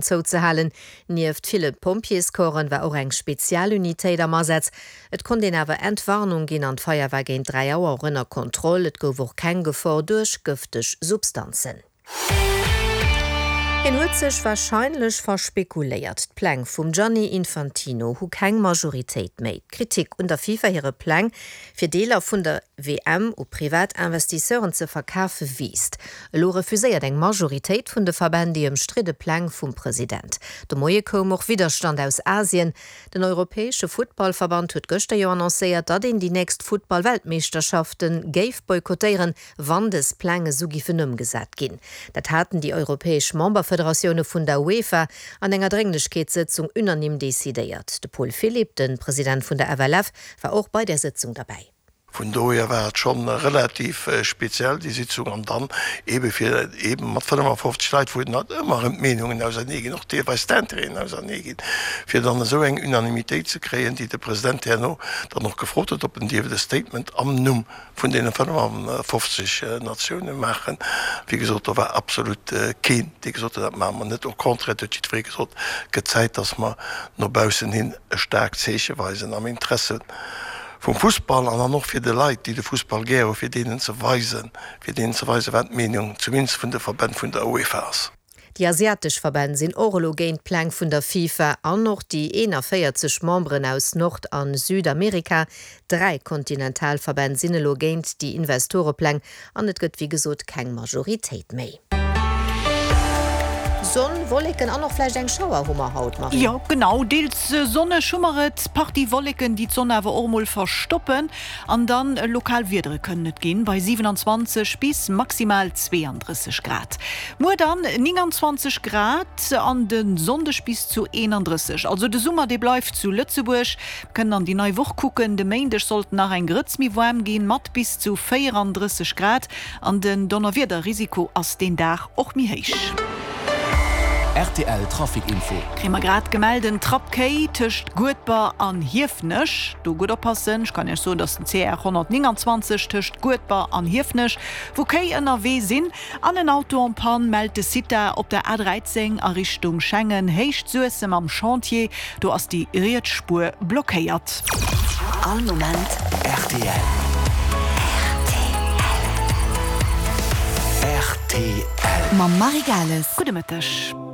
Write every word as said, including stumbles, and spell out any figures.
Zouzehalen. Nieft ville Pompjeescorpsen war och eng Spezialunitéit am Asaz. Et konnt een awer Entwarnung ginn an d'Feier war géint dräi Auer och ënner Kontroll. Et gouf och keng Gefor duerch gëfteg Substanzen. Hien huet sech warscheinlech verspekuléiert. D'Pläng vum Gianni Infantino hu keng Majoritéit méi. D'Kritik un der FIFA hire Pläng, fir Deeler vun der W M u privat Investisseuren ze verkafe wiisst. Elo refuséiert eng Majoritéit vun de Verbänn déi ëmstridde Pläng vum President. De Moie koum och Widderstand aus Asien. Den europäesche Futtballverband huet gëschter jo annoncéiert, datt een déi nächst Futtballweltmeeschterschafte géif boykottéieren, wann dës Pläng esou giffen ëmgesat ginn. Dat haten déi europäesch Memberfederatioune vun der UEFA an enger Drénglechkeetssëtzung unanime decidéiert. De Paul Philipp, de President vun der F L F, war och bei der Sëtzung derbäi. Vun dohier war et schonn relativ speziell déi Sitzung an dann ebe fir eben mat fënnefafofzeg Leit, wou et ëmmer erëm d'Meenungen ausernee ginn, och deelweis d'Intérêten ausernee ginn, fir dann esou eng Unanimitéit ze kréien, déi de President herno dann och gefrot huet, ob en dierft e Statement am Numm vun deene fënnefafofzeg Natioune maachen. Wéi gesot, do war absolut keen, dee gesot huet, dat maache mer net. Au contraire, et huet jiddweree gesot, et gëtt Zäit, datt mer no baussen hin e staarkt Zeeche weisen am Interesse vum Fussball an dann och fir de Leit, déi de Fussball gär hu, fir deenen ze weisen, fir deenen ze weisen, wat d'Meenung zumindest vun de Verbänn vun der UEFA ass. Déi asiatesch Verbänn sinn och elo géint d'Pläng vun der FIFA an och déi eenanvéierzeg Memberen aus Nord a Südamerika. Dräi Kontinentalverbänn sinn elo géint déi Investorepläng an et gëtt wéi gesot keng Majoritéit méi. Sonn, Wolleken an och vläicht eng Schauer hu mer haut, Marie. Jo, genau, deels sonneg hu mer et, Partie Wolleken, déi d'Sonn awer och mol verstoppen an dann lokal Wiedere kënnen et ginn, bei siwenanzwanzeg bis maximal zweeandrësseg Grad. Muer dann nénganzwanzeg Grad an de Sonndeg bis zu eenandrësseg. Also de Summer, dee bleift zu Lëtzebuerg. Mir kënnen an déi nei Woch kucken, de Méindeg soll et nach eng Grëtz méi waarm ginn, mat bis zu véierandrësseg Grad an den Donnerwiederrisiko ass deen Dag och méi héich. R T L Trafic Info. Kréie mer grad gemellt, en Trapp Kéi tëscht Guedber an Hiefenech. Do gutt oppassen. Ech kann Iech soen, dass den C R honnertnénganzwanzeg tëscht Guedber an Hiefenech, wou Kéi ënnerwee sinn, an en Auto en panne mellt de CITA op der A dräizéng a Richtung Schengen, Héicht Suessem am Chantier. Do ass déi riets Spuer blockéiert. All Moment R T L. R T L. Mam Marie Gales. Gudde Mëtteg.